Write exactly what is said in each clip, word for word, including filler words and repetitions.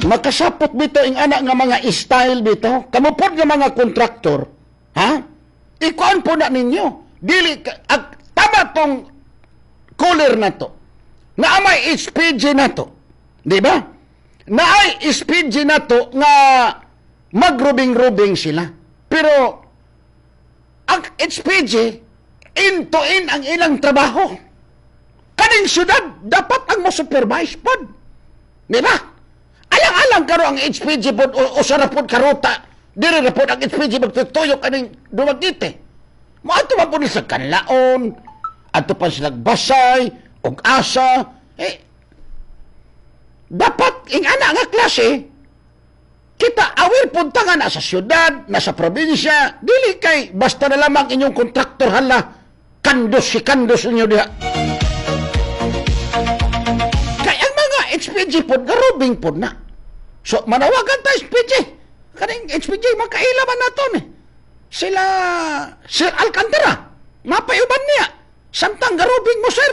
Makasapot bito ing anak nga mga style bito. Kamo pod nga mga kontraktor. Ha? Ikuan po na ninyo. Dili, ag, tama tong cooler na to. Na may H P G na to. Di ba? Na ay H P G na to nga magrubing-rubing sila. Pero ang H P G, in-to-in ang ilang trabaho. Kaning syudad, dapat ang mo-supervise pod. Di ba? Alang-alang karo ang H P G pod o, o sa rapod karuta. Diri rapod ang H P G magtutuyok kaning Dumaguete. Moadto man po ni sa Kanlaon, adto pa sila Basay, og Asa. Eh, dapat ing ana nga klase, kita aware pud ta nga nasa syudad, nasa probinsya, dili kay basta na lamang inyong kontraktor hala, kandos si kandos ninyo diha. Kay ang mga H P G pod, garubing pod na. So, manawagan ta H P G. Kaning H P G, makaila man nato ni. Sila, Sir Alcantara, mapayuban niya. Samtang garubing mo, sir.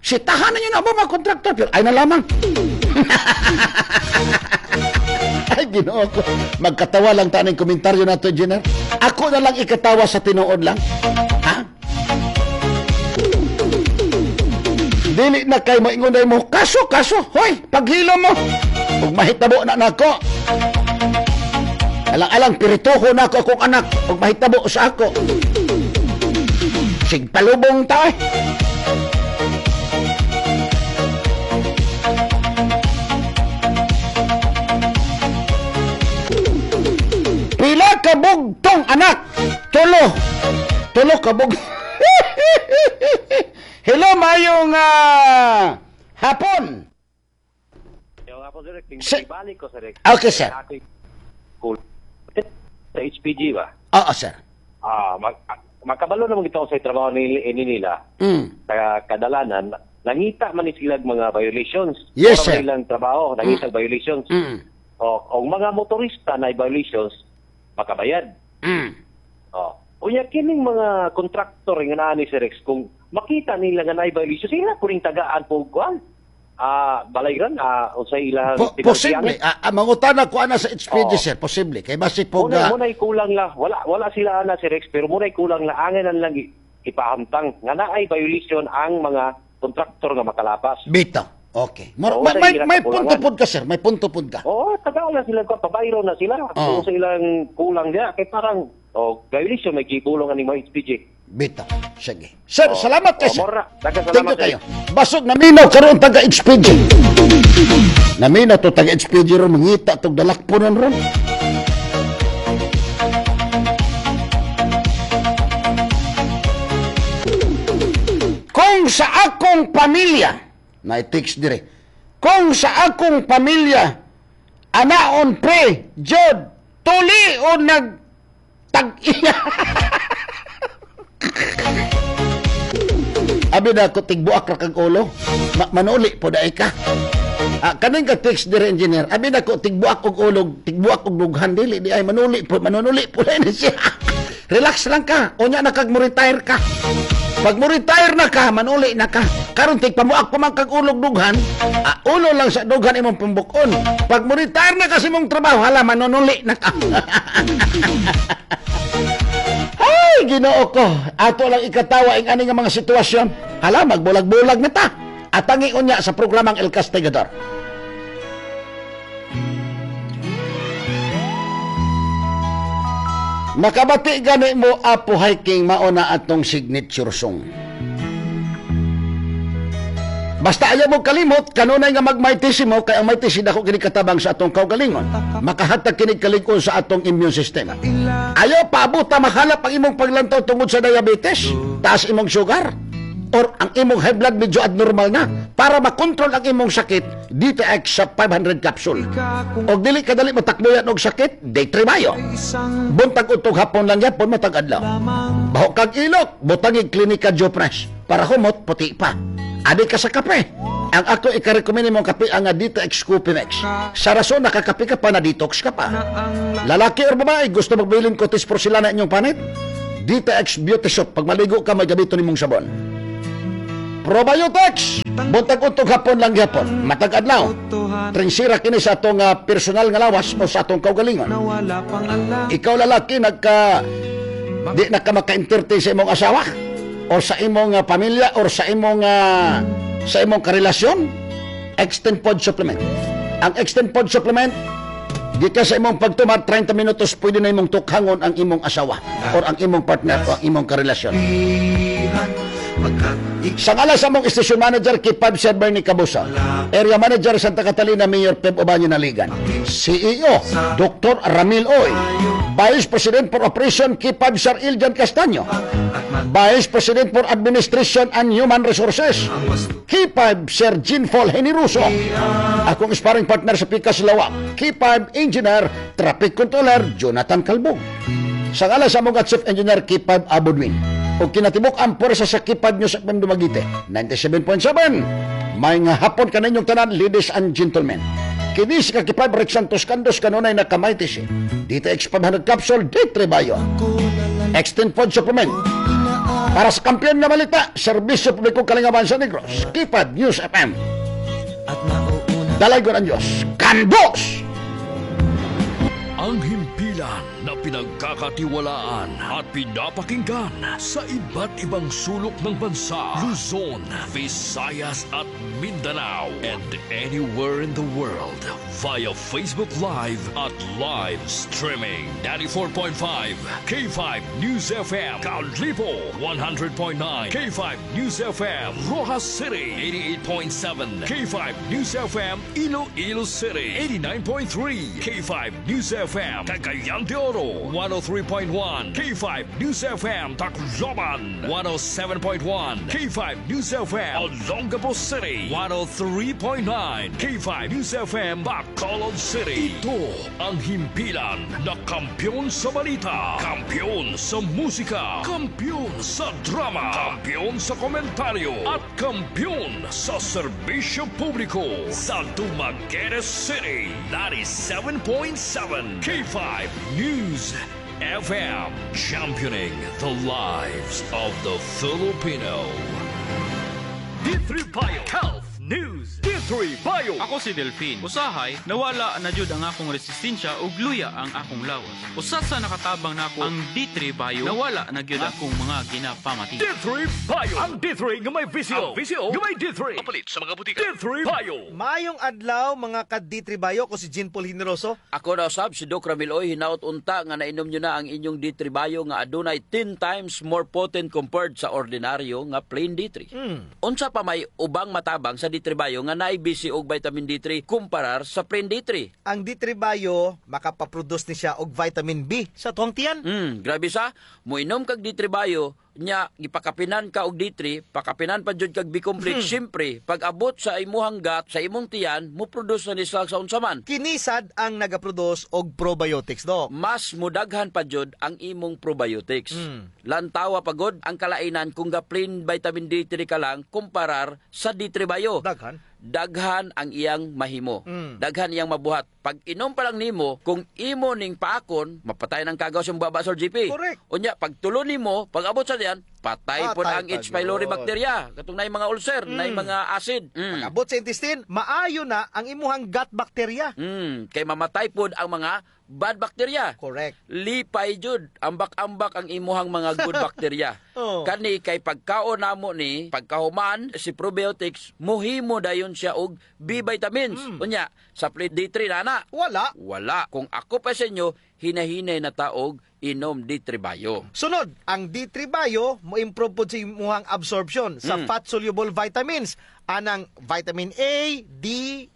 Sitahan ninyo na ba mga kontraktor? Pero ay na lamang. Ay, Ginoo ko. Magkatawa lang taning komentaryo na to, engineer. Ako na lang ikatawa sa tinuod lang. Ha? Dili na kay maingon mo, kaso, kaso, hoy, paghilo mo. Ug mahitabo na nako. Alang-alang, pirituho na ako akong anak. Ug mahitabo sa ako. Sigpalubong ta eh. Pila ka bugtong anak? Tulo. Tulo ka bug. Hello, mayong uh, hapon. Sir, ko, sir. Okay, sir. Sa H P G ba? Oo, sir. Ah, mag makabalo naman ito sa trabaho ni, ni nila. Mm. Sa kadalanan, nangita man ni sila mga violations. Yes, sir. Ilang trabaho, nangita mm. violations. Mm. O, o mga motorista na violations, makabayad. Mm. O, unya kining mga kontraktor nga naa ni Sir Rex, kung makita nila nga naay violations, sila puring tagaan po kuan. Ah, balayran ah unsay ilang po, posible. Ah, ah, mangutana ko ana sa H P G, oh, sir, posible. Kay basi po muna, muna'y kulang la. Wala wala sila ana Sir Rex, pero muna'y kulang la angan lang ipahamtang nga naay violation ang mga kontraktor nga makalapas. Bitaw. Okay. Mar- oh, may, may, may punto pod ka, sir. May punto pod ka. Oo, tagaan na sila ko, pabayro na sila. Oh. Kung sa ilang kulang niya, kay parang oh, violation may gibulong ani mga H P G. Bitaw. Sige. Sir, oh, salamat kay oh, sir. Mora. Salamat. Thank you kayo. Basog naminaw karon taga H P G. Naminaw to taga H P G ron mangita tog dalakponan ron. Kung sa akong pamilya, na-text dire. Kung sa akong pamilya anaon pre, jod, tuli o nag tag-iya. Abi na ko tigbuak ra kag ulo. Ma manuli po daay ka. Ah, kaning ka text dire engineer. Abi na ko tigbuak og ulo, tigbuak og dughan dili di ay manuli po, manunuli po na siya. Relax lang ka. Unya na kag mo retire ka. Pag mo retire na ka, manuli na ka. Karon tigpamuak pa man kag ulog dughan, ah, ulo lang sa dughan imong pambukon. Pag mo retire na kasi mong trabaho, hala manunuli na ka. Ay, Ginoo ko. Ato lang ikatawa ang ani nga mga sitwasyon. Hala, magbulag-bulag na ta. Atangi unya sa programang El Castigador. Makabati gani mo, Apo Hiking, mauna atong signature song. Basta ayaw mo kalimot, kanunay nga magmaytisi mo, kay ang maytisi dako kini katabang sa atong kaugalingon. Makahatag kini kalig-on sa atong immune system. Ayaw paabuta mahalap ang imong paglantaw tungod sa diabetes, taas imong sugar, or ang imong high blood medyo abnormal na. Para makontrol ang imong sakit, D T X sa five hundred capsule. Og dili kadali matakboyan og sakit, day three Mayo. Buntag utog hapon lang yapon matag adlaw. Baho kag ilok, butangig klinika Jopres para humot puti pa. Adi ka sa kape. Ang ako ikarekomend mong kape ang D T X Coffee Mix. Sa rason nakakape ka pa na detox ka pa. Lalaki or babae gusto magbilin kotis porselana inyong panit? D T X Beauty Shop. Pag maligo ka may gamiton nimong sabon. Probiotics! Buntag untog hapon lang gyapon. Matag adlaw. Trinsira kini sa atong uh, personal nga lawas o sa atong kaugalingon. Ikaw lalaki nagka di na ka maka-entertain sa imong asawa or sa imong uh, pamilya or sa imong uh, sa imong karelasyon, Extend Pod Supplement. Ang Extend Pod Supplement gikan sa imong pagtumad trenta minutos pwede na imong tukhangon ang imong asawa or ang imong partner o ang imong karelasyon. Sa ngalan sa among station manager K five Sir Bernie Cabusa, Area Manager Santa Catalina Mayor Peb Obanyo Naligan, C E O Doctor Ramil Oy, Vice President for Operation K five Sir Iljan Castaño, Vice President for Administration and Human Resources K five Sir Jean Paul Heniruso, akong sparring partner sa Pikas Lawak, K five Engineer Traffic Controller Jonathan Calbong. Sa ngalan sa among Chief Engineer K five Abudwin, o kinatibuk ang pwersa sa K five News F M Dumaguete ninety-seven point seven. May nga hapon kaninyong tanan, ladies and gentlemen. Kini si K five Rex Santos Candos kanunay nakamighty D T X five hundred capsule D three Bio Extend Food Supplement para sa kampiyon nga balita, serbisyo publiko kalingawan sa Negros, K five News F M. Dalaygon ang Diyos. Kandos! Ang himpilan na pinagkakatiwalaan at pinapakinggan sa iba't ibang sulok ng bansa, Luzon, Visayas at Mindanao, and anywhere in the world via Facebook Live at live streaming. ninety-four point five K five News F M, Kalibo one hundred point nine K five News F M, Roxas City eighty-eight point seven K five News F M, Iloilo City eighty-nine point three K five News F M, Cagayan de Oro one oh three point one K five News F M, Tacloban one oh seven point one K five News F M, Olongapo City one oh three point nine K five News F M, Bacolod City. Ito ang himpilan na kampiyon sa balita, kampiyon sa musika, kampiyon sa drama, kampiyon sa komentaryo, at kampiyon sa serbisyo publiko sa Dumaguete City ninety-seven point seven K five News F M, championing the lives of the Filipino. D three Bio Health News. D three Bio. Ako si Delphine. Usahay, nawala na jud ang akong resistensya ug luya ang akong lawas. Usa sa nakatabang nako ang D three Bio, nawala na gyud akong mga ginapamati. D three Bio. Ang D three nga may V C O. Ang V C O nga may D three. Papalit sa mga butika. D three Bio. Mayong adlaw mga ka-D three Bio ko si Jean Paul Generoso. Ako na usab si Doc Ramil Oy, hinaot unta nga nainom nyo na ang inyong D three Bio nga adunay ten times more potent compared sa ordinaryo nga plain D three. Unsa pa may ubang matabang sa D three Bio nga naay B C og vitamin D three kumparar sa plain D three? Ang D three Bio makapaproduce ni siya og vitamin B sa tuang tiyan. Hmm, grabe sa moinom kag D three Bio nya gipakapinan ka og D three, pakapinan pa jud kag B complex, siyempre pag abot sa imuhang gut, sa imong tiyan, mo produce na ni sa sa unsa man. Kinisad ang nagaproduce og probiotics, Dok. Mas mudaghan pa jud ang imong probiotics. Mm. Lantawa pagod ang kalainan kung ga plain vitamin D three ka lang kumparar sa D three Bio. Daghan. Daghan ang iyang mahimo. Mm. Daghan iyang mabuhat. Pag inom pa lang nimo, kung imo ning paakon, mapatay ng kagaw sa baba sa G P. Correct. Unya, pag tulo nimo, pag abot sa diyan, patay po Patay ang pa H. pylori yun. Bacteria. Katong naay mga ulcer, naay mga acid. Mm. Pag abot sa intestine, maayo na ang imuhang gut bacteria. Mm. Kay mamatay pod ang mga bad bacteria. Correct. Lipay jud, ambak-ambak ang imuhang mga good bacteria. Oh. Kani kay pagkaon namo ni, pagkahuman si probiotics muhimo dayon siya og B vitamins. Unya, sa plain D three na na Wala. Wala. Kung ako pa sa inyo, hinahinay na taog inom D three Bio. Sunod, ang D three Bio mo improve pod sa imuhang absorption sa Mm. fat-soluble vitamins anang vitamin A, D,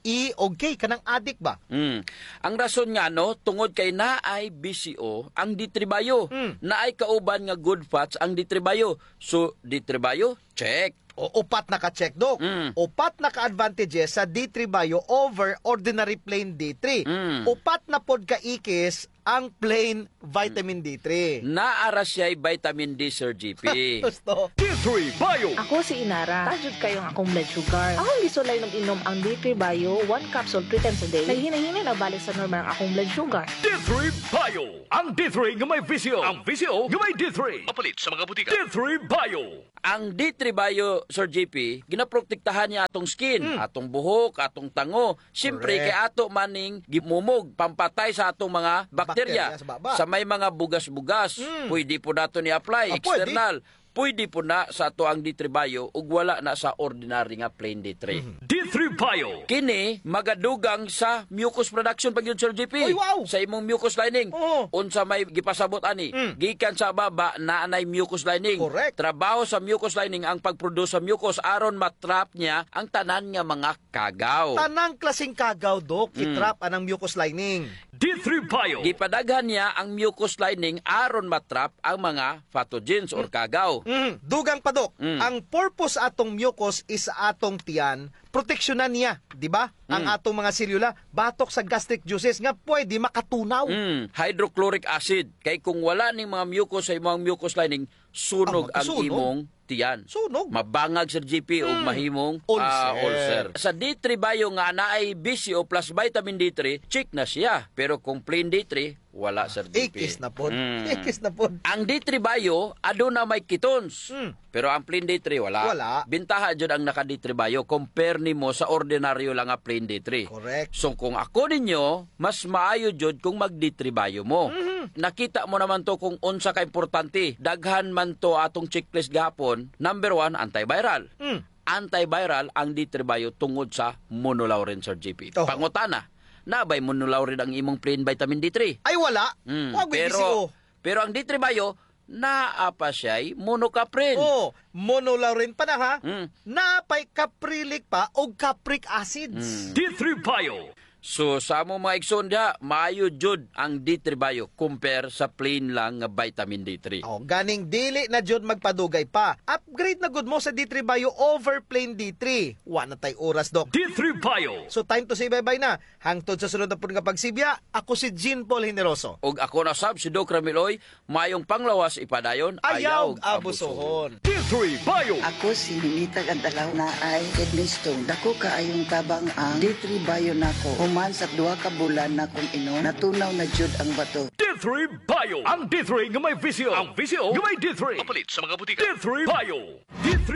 E o K, kanang addict ba? Mm. Ang rason nga no, tungod kay naay B C O ang D three Bio. Mm. Naay kauban nga good fats ang D three Bio. So D three Bio, check. O upat na ka-check, Dok. Mm. Upat na ka-advantages sa D three Bio over ordinary plain D three. Mm. Upat na pod ka ikis ang plain vitamin D three. Naara siya vitamin D, Sir G P. Gusto. D three Bio. Ako si Inara. Taas jud kaayo ang akong blood sugar. Akong gisulay og inom ang D three Bio, one capsule three times a day. Naghinay-hinay na balik sa normal ang akong blood sugar. D three Bio. Ang D three nga may V C O. Ang V C O nga may D three. Mapalit sa mga butika. D three Bio. Ang D three Bio, Sir G P, ginaprotektahan niya atong skin, atong buhok, atong tango. Siyempre, Correct. kay ato maning gimumog, pampatay sa atong mga bakterya. Bakterya sa baba. Sa may mga bugas-bugas, pwede po nato ni-apply, Ah, pwede. External. Pwede po na sa ato ang D three Bio ug wala na sa ordinary nga plain D three. D three Bio. Kini magadugang sa mucus production pag yun, Sir G P. Uy, wow! Sa imong mucus lining. Oo. Unsa may gipasabot ani? Gikan sa baba na anay mucus lining. Correct. Trabaho sa mucus lining ang pagproduce sa mucus aron matrap niya ang tanan nga mga kagaw. Tanang klaseng kagaw, Dok, itrap anang mucus lining. D three Bio. Gipadaghan niya ang mucus lining aron matrap ang mga pathogens or kagaw. Mm. Dugang pa, Dok, Mm. ang purpose atong mucus is sa atong tiyan, proteksyonan niya, di ba? Ang Mm. atong mga selula batok sa gastric juices nga pwede makatunaw. Mm, hydrochloric acid. Kay kung wala ning mga mucus sa imong mucus lining, sunog Ah, ang magkasunog. imong tiyan. Sunog. Mabangag, Sir G P, ug mahimong Ulcer. ah, ulcer. Sa D three Bio nga naay B C O plus vitamin D three, check na siya. Pero kung plain D three, wala, Sir G P. Ikis na pod. Mm. Ikis na pod. Ang D three Bio, aduna may ketones. Mm. Pero ang plain D three, wala. Wala. Bintaha jud ang naka D three Bio compare nimo sa ordinaryo lang nga plain D three. Correct. So kung ako ninyo, mas maayo jud kung mag D three Bio mo. Mm-hmm. Nakita mo naman to kung unsa ka importante. Daghan man to atong checklist gahapon. Number one, antiviral. Mm. Antiviral ang D three Bio tungod sa monolaurin, Sir G P. Oh. Pangutana, nabay monolaurin ang imong plain vitamin D three? Ay, wala. Mm, Wag pero B C O. pero ang D three Bio naa pa siya'y monocaprin. Oh, monolaurin pa na ha. Mm. Napay caprylic pa o capric acids. D three Bio. So sa among mga igsoon diha, maayo jud ang D three Bio compare sa plain lang nga vitamin D three. Oh, ganing dili na jud magpadugay pa. Upgrade na gud mo sa D three Bio over plain D three. Wa na tay oras, Dok. D three Bio. So time to say bye-bye na. Hangtod sa sunod na pud nga pagsibya, ako si Jean Paul Generoso. Og ako na sab si Doc Ramiloy, mayong panglawas ipadayon, Ayaw abusohon. D three Bio. Ako si Ninita Gandalaw na ay kidney stone. Dako kaayong tabang ang D three Bio nako. Human sa duha ka bulan na kong inom, natunaw na jud ang bato. D three Bio. Ang D three nga may V C O. Ang V C O nga may D three. Mapalit sa mga butika. D three Bio. D three